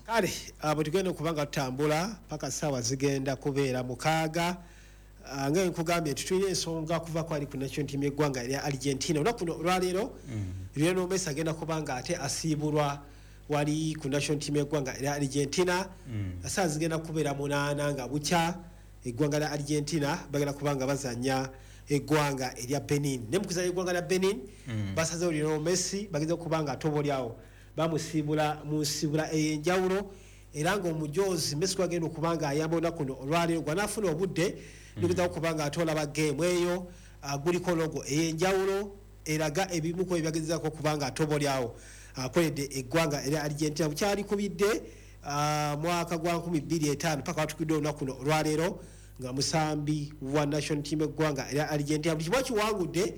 Kale bwe tugenda okuba nga tutambula paka saawa zigenda kubeera 6, nga nkugambye nti tulina ensonga kuva kwali ku national team y'eggwanga erya Argentina. Olunaku luno olwaleero, Lionel Messi agenda kuba nga ate asiibulwa wali ku national team y'eggwanga erya Argentina. Saawa zigenda kubeera 8 nga bukya, eggwanga lya Argentina bagenda kuba nga bazanya eggwanga erya Benin. Ne mukuzanya eggwanga lya Benin, basazeewo Lionel Messi bagenda kuba nga ate oba oliawo bamusiibula mu nsiibula ey'enjawulo, era nga omujoozi Messi gwagenda okuba nga ayamba olunaku luno olwaleero gwanaafuna obudde nigeza okuba nga ate olaba geemu eyo, guliko logo ey'enjawulo eraga ebimu ku ebyagezaako okuba nga ate oba oliawo akoledde eggwanga erya Argentina bukyalikubidde mwaka gwa 2005 paka watukidde olunaku luno olwaleero nga musambi wa national team eggwanga erya Argentina. Buli kimu akiwangudde,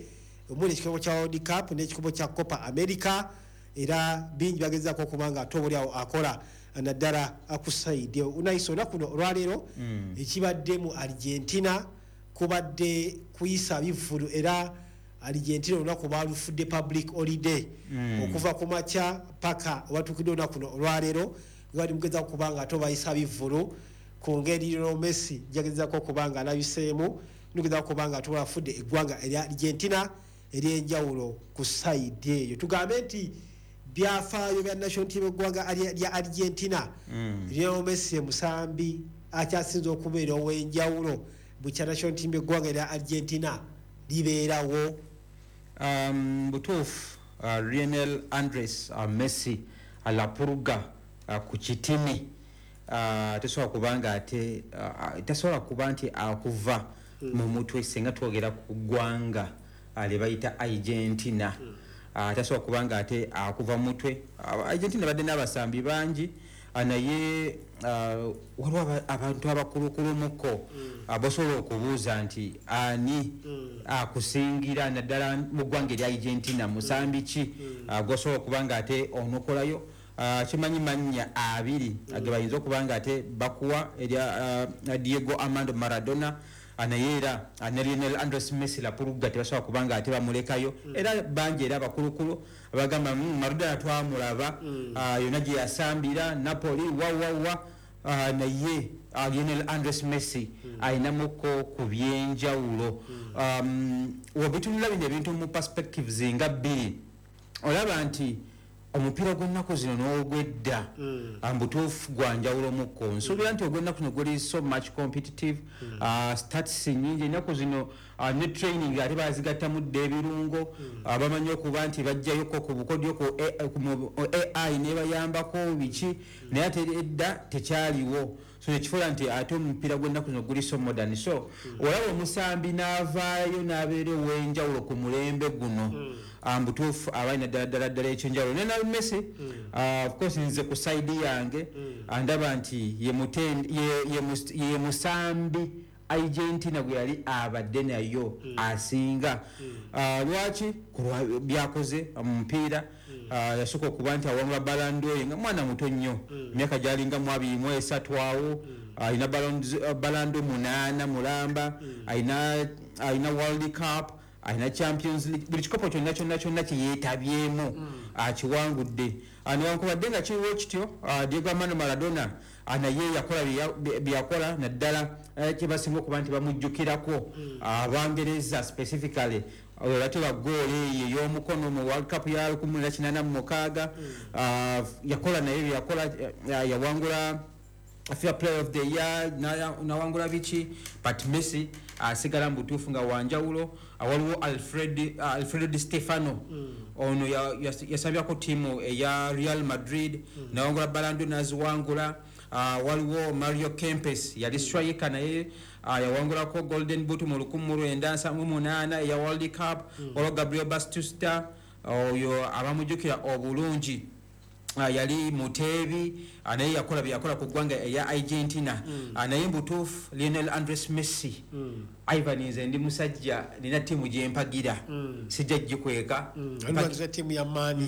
omuli ekikopo kya World Cup n'ekikopo kya Copa America, era bingi bagezaako okuba nga ate oba oliawo akola naddala ku side unayisa. Olunaku luno olwaleero ekibadde mu Argentina kubadde kuyisa bivvulu, era Argentina olunaku balufudde public holiday okuva ku makya paka watuukidde olunaku luno olwaleero nga bali mugezaako okuba nga ate obayisa bivvulu ku ngeri Lionel Messi jagezaako okuba nga alabiseemu nugezaako okuba nga ate afudde eggwanga erya Argentina eryenjawulo. Ku side eyo tugambe nti byafaayo bya national team eggwanga lya Argentina, Lionel Messi musambi akyasinze okubeera ow'enjawulo bukya national team eggwanga erya Argentina libeerawo. Butuufu, Lionel Andres Messi La Pulga ku kitini tasobola kubanga ate tasobola kuba nti akuva mu mutwe singa twogera ku ggwanga lye bayita Argentina. Tasobola kubanga ate akuva mu mutwe. Argentina badde n'abasambi bangi, naye waliwo abantu abakulukulumuko bosobola okubuuza nti ani akusingira naddala mu ggwanga erya Argentina, musambi ki gosobola okuba nga ate onokolayo? Kimanyi mannya abiri ge bayinza okuba nga ate bakuwa, erya Diego Armando Maradona, naye era ne Lionel Andres Messi La Pulga tebasobola kuba nga ate bamulekayo. Era bangi era abakulukulu abagamba, Maradona twamulaba yonna gye yasambira, Napoli wawawa, naye Lionel Andres Messi ayinamuko ku byenjawulo. Webitunula bino ebintu mu perspectives nga bbiri, olaba nti omupiira gw'ennaku zino n'ogwedda mbutuufu gwa njawulo mukko. Nsuubira nti ogw'ennaku zino guli so much competitive, stats nyingi ennaku zino, ne training ate bazigattamu dda ebirungo. Bamanyi okuba nti bajjayoko ku bukodyo ku ku AI nebayambako biki, naye ate edda tekyaliwo. So nekifuula nti ate omupiira gw'ennaku zino guli so modern. So olaba omusambi n'avaayo n'abeera ow'enjawulo ku mulembe guno, mbutuufu abalina ddala ddala ddala ekyenjawulo. Naye na Messi, of course nze ku side yange ndaba nti ye musambi Argentina gwe yali abadde nayo asinga. Lwaki? Kulwa byakoze mu mupiira. Yasooka okuba nti awangula Ballon d'Or nga mwana muto nnyo, emyaka gyalinga mu 23 awo. Alina Ballon d'Or munaana mulamba, alina World Cup, alina Champions League, buli kikopo kyonna kyonna kyonna kyeyeetabyemu akiwangudde. Newankubadde nga kiriwo kityo, Diego Armando Maradona naye yakola byeyakola, naddala kyebasinga okuba nti bamujjukirako Abangereza specifically bateba goolo eyo ey'omukono mu World Cup ya 1986. Yakola naye byeyakola, yawangula FIFA Player of the Year, nawangula biki, but Messi asigala mu butuufu nga wanjawulo. Waliwo Alfredo Di Stefano, ono yasambyako ttiimu eya Real Madrid, nawangula Ballon d'Or, naziwangula. Waliwo Mario Kempes, yali striker, naye yawangulako Golden Boot mu 1978 eya World Cup. Waliwo Gabriel Batistuta, oyo abamujjukira obulungi, yali muteebi, naye yakola byeyakola ku ggwanga eya Argentina. Naye mbutuufu Lionel Andres Messi, Ivan, nze ndi musajja nina ttiimu gyempagira, sijja gikweka. Oli ttiimu ya maani?